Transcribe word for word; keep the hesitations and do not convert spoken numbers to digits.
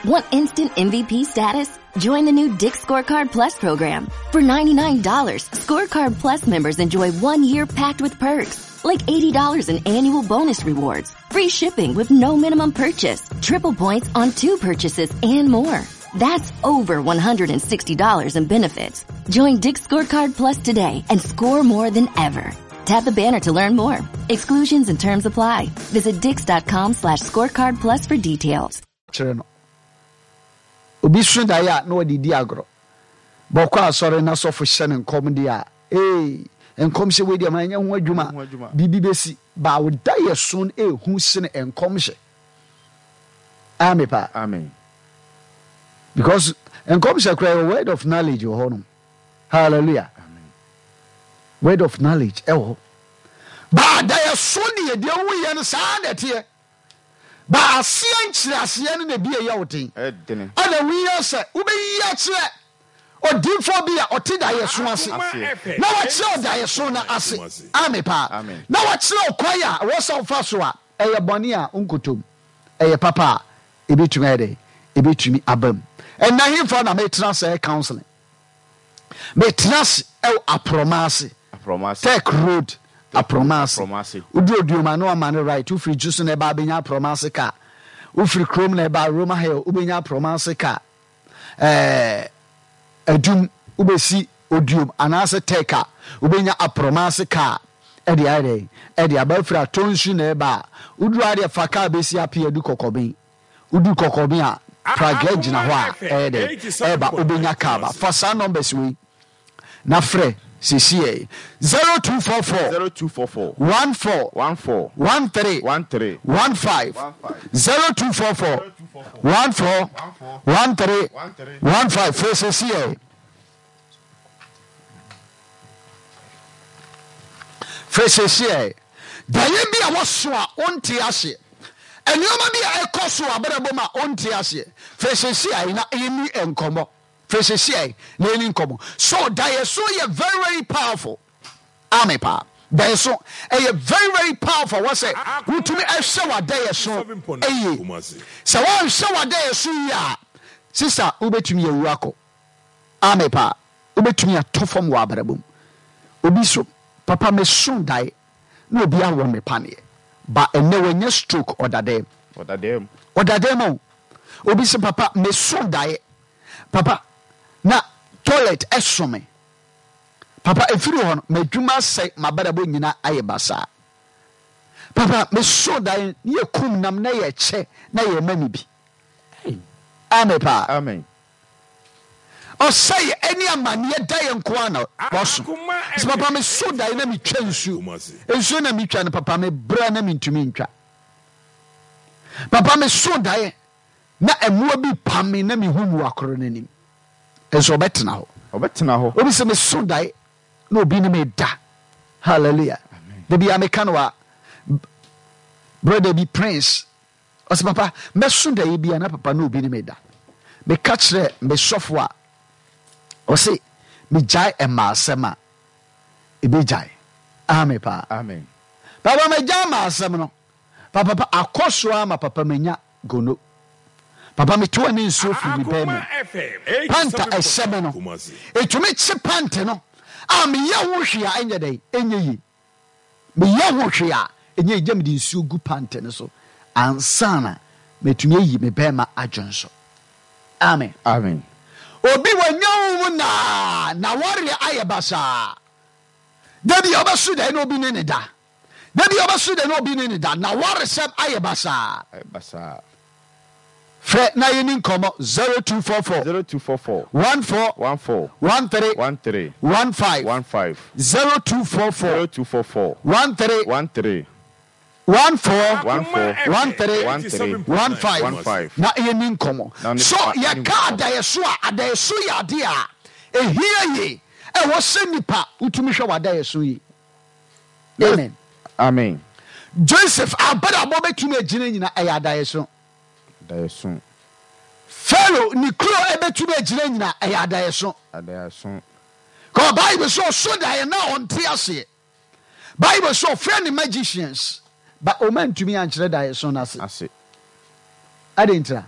Want instant M V P status? Join the new Dick's Scorecard Plus program. For ninety-nine dollars, Scorecard Plus members enjoy one year packed with perks, like eighty dollars in annual bonus rewards, free shipping with no minimum purchase, triple points on two purchases, and more. That's over one hundred sixty dollars in benefits. Join Dick's Scorecard Plus today and score more than ever. Tap the banner to learn more. Exclusions and terms apply. Visit dicks dot com slash scorecard plus for details. Kyerɛ no obi so daeɛ a na wɔde di agorɔ bɔkɔ asɔre na sɔfo hyɛ ne nkɔm deɛ a, ee, nkɔm hyɛ wei deɛ ma ɛnyɛ ho adwuma. Ho adwuma. Biribi bɛsi ba wo da yɛ so no, ɛhu sene nkɔm hyɛ. Ame paa. Amen. Because nkɔm hyɛ koraa yɛ word of knowledge wɔ hɔ nom. Hallelujah. Amen. Word of knowledge ɛwɔ hɔ ba adayɛ so deɛ, deɛ woyɛ no saa na ɛteɛ ba aseɛ nkyerɛ aseɛ no na ebi ɛyɛ wo den. Ɛdene. Ɛna woyɛ sɛ wobɛyi akyerɛ odiifoɔ bi a ɔte daeɛso ase Aseɛ. na wakyerɛ ɔdaeɛso no ase. Ame paa. Amen. Na wakyerɛ ɔkwan a ɛwɔ sɛ wofa so a ɛyɛ bɔne a nkotom, ɛyɛ papa a ɛbɛtumi ayɛ dɛ ɛbɛtumi aba mu. Ɛnna hemfa na metena sɛ counseling? Metena ase ɛwɔ Aprɔma ase. Aprɔmase. Tech Road, Aprɔma ase. Aprɔmase. Woduru Oduoma na wama no right. Wofiri dwu so na ɛba, abɛnya Aprɔma ase kaa. Wofiri kurom na ɛba Roma Hill, wobɛnya Aprɔma ase kaa. ɛɛ adum wobɛsi Oduom anaasɛ Tech a, wobɛnya Aprɔma ase kaa ɛde ayɛ dɛ ɛde aba. Afiri Atɔnsu na ɛba a, woduru adeɛ fa kaa bɛsi Apeadu Kɔkɔben. Wodu Kɔkɔben a, pragya gyina hɔ a ɛyɛ dɛ ɛba, wobɛnya kaa ba. Fa saa numbers wei na frɛ sesiɛ: zero two four four zero two four four one four one four one three one three one five. one five. zero two four four one four one three one five. Frɛ sesiɛ, frɛ sesiɛ. Daeɛ bi a wɔso a ɔnte aseɛ, nneɛma bi a ɛkɔ so abrabɔ mu a ɔnte aseɛ, frɛ sesiɛ na ɛni nkɔmmɔ. Frɛ sesiɛ na ɛni nkɔmmɔ. So daeɛ so yɛ very very powerful. Ame paa. Daeɛ so ɛyɛ very very powerful. Wɔ sɛ wotumi ɛhwɛ w'adaeɛ so ɛyie. Sɛ wɔnhwɛ w'adaeɛ so yie a, sister, wobɛtumi awu akɔ. Ame paa. Wobɛtumi atɔ fam wɔ abrabɔ mu. Obi so, "Papa, meso daeɛ na obi awɔ me paneɛ ba." Ɛnɛ wɔnyɛ stroke, ɔda dɛm. Ɔda dɛm. Ɔda dɛm o. Obi sɛ, "Papa, meso daeɛ, papa, na toilet ɛso me. Papa, ɛfiri hɔ no m'adwuma asɛe, m'abrabɔ nyinaa ayɛ basaa. Papa, meso daeɛ ne yɛ kum nam na yɛ kyɛ na yɛ ma me bi." Ame paa. Amen. Ɔsɛe ɛne amanneɛ da yɛ nko a na wɔso sɛ, "Papa, meso daeɛ na metwa nsuo. Nsuo na metwa no, papa, mebrɛ na mentumi ntwa. Papa, meso daeɛ na mmoa bi pam me na mehu mmoa koro no anim." Nso ɔbɛtena hɔ. Ɔbɛtena hɔ. Obi sɛ, "Meso daeɛ na obi ne me da." Hallelujah. Da bia meka no a, brother bi, Prince, ɔsɛ, "Papa, mɛso daeɛ bia na papa na obi ne me da. Meka kyerɛ me sɔfo a, ɔse megyae ɛma asɛm a ɛbɛgyae." Ame paa. Amen. "Papa, megyae ma asɛm no, papa, papa akɔ so ama papa manya gono. Papa, metoa ne nsuo firi me bɛn mu. Pant a ɛhyɛ me no, ɛtumi kye pant no a meyɛ ho hwee a ɛnyɛ dɛn, ɛnyɛ yie. Meyɛ ho hwee a ɛnyɛ yie. Gya mede nsuo gu pant no so ansa na matumi ayi me bɛrima adwene so." Amen. Amen. Obi wanya wo mu naa na wɔreɛ ayɛ basaa. Da bi a ɔbɛso dɛn na obi ne ne da, da bi a ɔbɛso dɛn na obi ne ne da na wɔresɛm ayɛ basaa. Ayɛ basaa. Frɛ na yɛni nkɔmmɔ: zero two four four zero two four four one four one four one three one three one five. one five. zero two four four zero two four four one three one three one four one four one three one three one five. one five. Na yɛni nkɔmmɔ. Na ne So fa- yɛka adaeɛso a, adaeɛso yɛ adeɛ a ɛhia yie. Ɛwɔ sɛ nipa wotumi hwɛ w'adaeɛso yi. Amen. Amen. Joseph abrabɔ bɛtumi agyina nyina ɛyɛ adaeɛso. Daeɛso. Pharaoh ne kuro ɛbɛtumi agyina nyina ɛyɛ adaeɛso. Adaeɛso. Kɔ Bible sɛ ɔso daeɛ na ɔnte aseɛ. Bible sɛ ɔfrɛ ne magicians ba, ɔma ntumi ankyerɛ daeɛso no ase. Ase. Ade ntira.